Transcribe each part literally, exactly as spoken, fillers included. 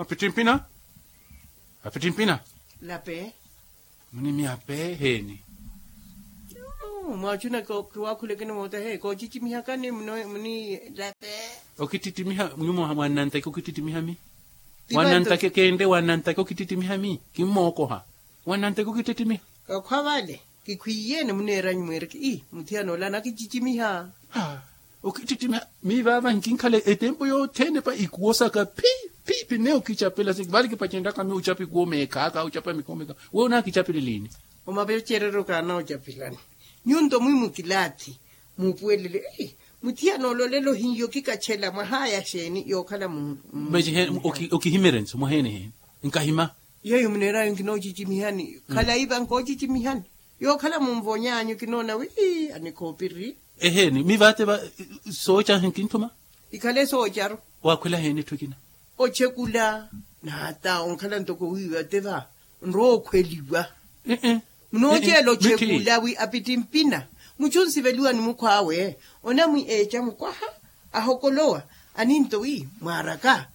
Apittimpina. Apittimpina. Lape. Munimiya peeheeni? Mwaachuna kiwaakhulekeni mootahe koocicimihakani. Muni lape. Okittittimiha nyumo mwannantaki okittittimiha mi? Wannantaki keenre wannantaki okittittimiha mi kimmookoha. Wannantaki okittittimiha. Kakhwa vale kikhwiiyene muneeranyu mweereke ii muthiyana ola anakicicimiha. Okittittimiha. Miivaava nkinkhala etempo yothene pa ikuwo saka phi phi phi neyo kichapela siki vale kipacenryaka mi uchapa ikuwo meekhaaka uchapa mikhowo meekhaaka. Weyo onaakichapeleliini? Omapecereryo kaanaocapelani. Nyunto mwi mukilaathi muupuwelele. Muthiyana ololela ohinyo kikachela mwahaaya xeeni yookhala mu? Okihimerense mwaheene heeni? Nkahima. Yeeyo muneerayo nkinoocicimihani khalayi vankoocicimihani. Yookhala munvonyaanyu kinoona wi anikhoopiri. Eheeni mi vaate va sooca nkinthuma. Ikhale soocaru. Waakhwela heeni etthu ekina? Ochekula. Naata onkhala ntoko wiiwa te va nrookhweliwa. Munooceela ochekula wi apittimpina muchu nsiveliwa ni mukhw'awe. Onamwi eeca mukwaha ahokolowa aninto wi mwaaraka.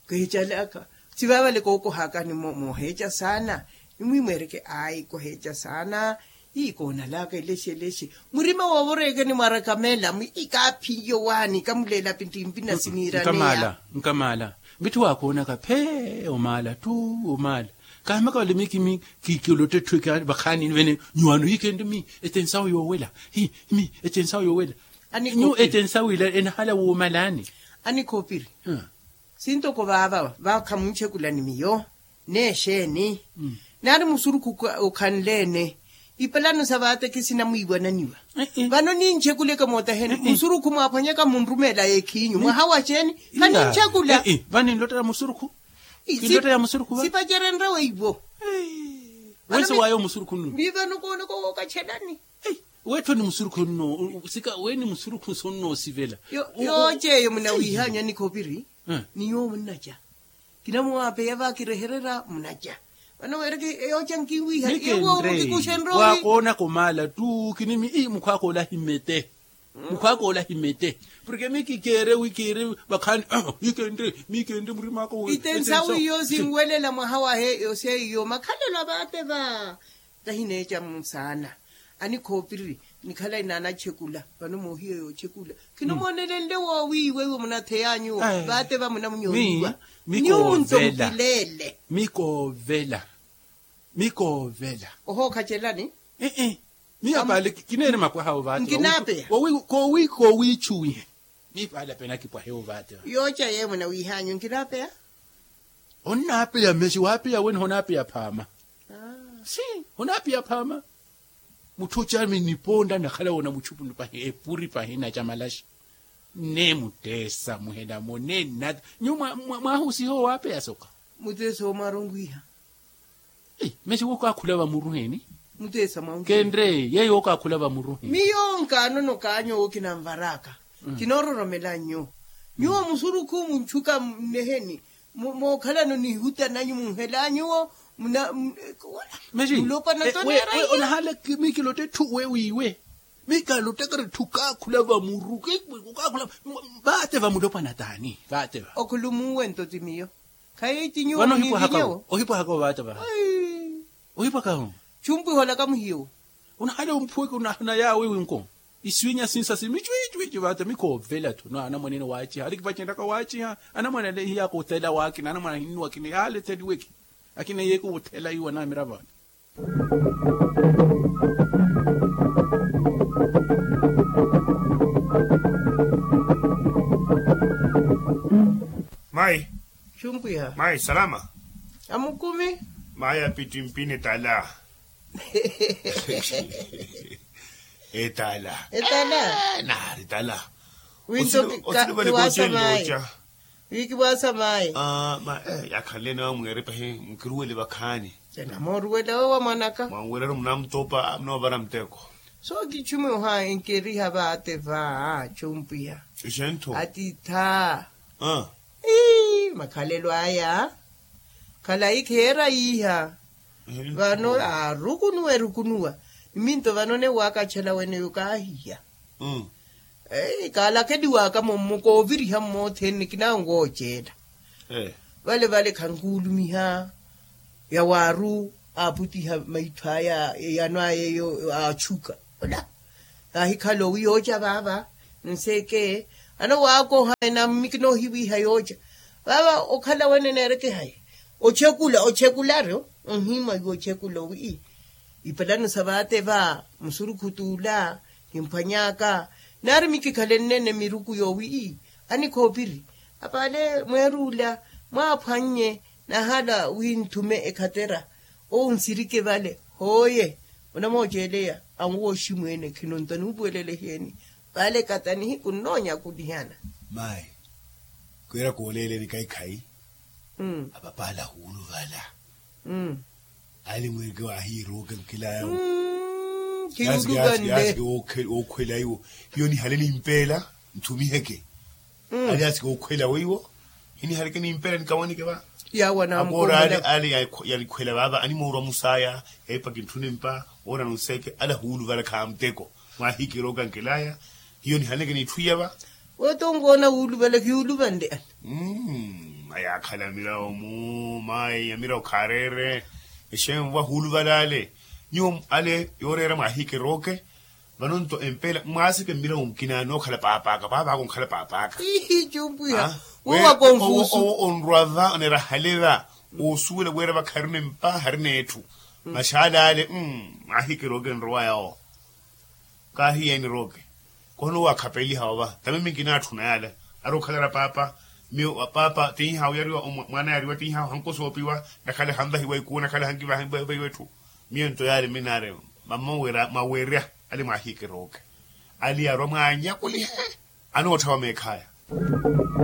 Keecalaka sivavale kookohakani mooheeca saana. Nimwimweereke ayi koheeca saana. Ii koonalaka elexi elexi murima woovoreekeni mwarakamela mwi kaaphiyo waani kamuleela pittimpi na siniiraneya. Nkamaala. Mitthu waakoonaka phee omaala ttu omaala. Kaamaka vale mi kimi kikiolotta etthu ekhaani vakhaani vene nyuwaano hii khenre mi etensawo yoowela. Hii mi etensawo yoowela. Nyu etensawo ila enahala woomalaani. Anikhoopiri. Sintoko vaava vakhamunchekulani miyo. N'exeeni naari musurukhu okhanle-ene. Ipalano sa vaatekisi namwiiwananiwa. Vano ninchekuleke mootaheni musurukhu mwaaphwanyaka munrumeela ekhiinyu mwaha wa xeeni? Khaninchekula. Vaninlottela musurukhu. Kinlottela musurukhu va sipacerenrya weiwo. Wense waayo musurukhu nnu. Mivano koonoko wookachelani. Weetthoni musurukhu nno. Sika weeni musurukhu sonnoosivela. Yooceeyo munawiihanyu anikhoopiri. Ni nyuwo munnaca. Kinamuwaapeya vakirehererya munaca. Vano weereke yooca nkiwiiha. Yoowo mukikuxenrya wi waakoonaka omaala ttu kinimi ii mukhwaaka ola ahimete. Mukhwaaka ola ahimete. Porke mi kikeere wi keere vakhaani hii kenre mi kenre murim'aka. Itensawu iyo sinwelela mwaha wahe yoseiyo makhalelo a vaate va. Tahineeca musaana anikhoopiri. Nikhala inaanachekula vano moohiya yoochekula. Khino moonelenle woowiiwa iwo munatheya nyuwo vaate va munamunyooniwa. Nyuwo nto mukileele. Mikoovela. Mikoovela. Ohookhacelani. Miyo paali kineene mapwaha ovaate. Nkinaapeya. Koowiichuwihe. Miyo paali ape nakipwahe ovaate. Yooca yeemwe nawiihanyu nkinaapeya. Onnaapeya mexi waapeya wene honaapeya phaama. Si honaapeya phaama. Mutthu ocami niponda nakhala woona muchupu pahi epuri pahi naca malaxi. Nne mutteesa muhelamo nne nnata nyuwo mwaahusiha owaapeya soka. Mutteesa omwaronkhwiha. Mesi wookaakhula vamuruheni. Mutteesa mwaunkhwiha kenre yeeyo wookaakhula vamuruheni. Miyo nkaanono kaanyu owo kinanvar'aka. Kinoororomela nyuwo. Nyuwo musurukhu muntchuka nneheni. Mookhalano nihuta nanyu munhela nyuwo. Muna mulopana toneera. Onahala mi kilotta etthu we wiiwe. Mi kalottakari etthu kaakhula vamuru. Kaakhula vaate vamulopana taani vaate va. Okhulumuwe nto ti miyo. Khayi ti nyuwo. Vano ohipwahaka ovaate vaha. Ohipwaka ho. Chumpwiha olaka muhiyo. Onahala omphuweke onahana yaawe winko. Iswinya sinsa si michwichwichi vaata mikoovela tho no anamwane ene waaciha alikipacenryaka waaciha. Anamwane ale hiyaka othela waakina anamwane ahinnuwa akina yaale etheliweke. Akina yeeke othela iwo anamiravo ale. Mayi. Chumpwiha mayi salama. Amukumi. Mayi apittimpini tala. Etala. Etala. Naari tala. Winto kiwaasa mayi. Wikiwaasa mayi. Yakhanle ene wamweere pahi mukiruwele vakhaani. Enamooruwela we wa mwanaka mwanwerero munamutopa munaovara muteko. So kichume oha enkeriha vaate va. Chumpwiha. Ixentho. Atitha. Ii makhalelo aya. Khalayi kheera yiiha. Vano aarukunuwa erukunuwa. Niminto vano newaakachala weneyo kaahiya. Kaalakeliwaka mummo kooviriha mmothene kinanwooceela. Vale vale khankuulumiha yawaaru aaputiha maitho aya eyano aya eyo aachuka. Ola aahikhala owi yooca vaava. Nseke ano waakoha enammiki noohiwiiha yooca vaava okhala wene neerekehaye. Ochekula ochekularu onhimwa iwe ochekula owi ipalano sa vaate va musurukhutuula. Kimphwany'aka nari mikikhalennene miruku yoowi anikhoopiri. Apaale mweeruula mwaaphwannye nahala wi nthume ekhatera. Owo nsirike vale hooye onamooceeleya anwooxi mweene khinontwa nuupuwelele heeni. Vale kata nihiku nnonyakulihana. Mayi kwira kooleeleni kaikai. Apapaala huuluvala. Ali mweeke waahiiruuke nkilaya. Yaasi yaasi yaasi. Ookhwela iwo hiyo nihale nimpeela nthumiheke. Ali yaasi kookhwela weiwo hinihaleke nimpeela nikawanike va. Yawana akoora ale ale yalikhwela vaava animoorwa musaya yaipa kintthune mpa. Woona nunseeke ala huuluvala khaamuteko mwaahikirooka nkilaya. Hiyo nihaneke niitthu iya va. Woota onkoona wuuluvala kiyuuluvanle ale. Ayaakhala mirawo mu mayi ya mirawo khaareere. Exeemvo va huuluvala ale nyuwo ale yooreera mwaahikirooke. Vano nto empeela mwaaseke mmirawo nkina nookhala paapaka paapaka onkhala paapaka. Ihi cumpwiha. Owo onrwa va oneera hale va osuwela wira vakharina empa harina etthu. Maxaala ale mwaahikirooke nrowa yawo. Kaahiyeeni rooke. Kono wakhapeliha ova tamimi nkinatthuna yala. Ari okhalara paapa miyo paapa tinhawu yariwa mwana yariwa tinhawu hankosoopiwa. Nakhala hanvahiwa ikuwo nakhala hankivahiwa etthu. Miyo nto yali minaari mama wira mwawerya ali mwaahikirooke. Ali yarwa mwaanyakulihe anootthawa meekhaya.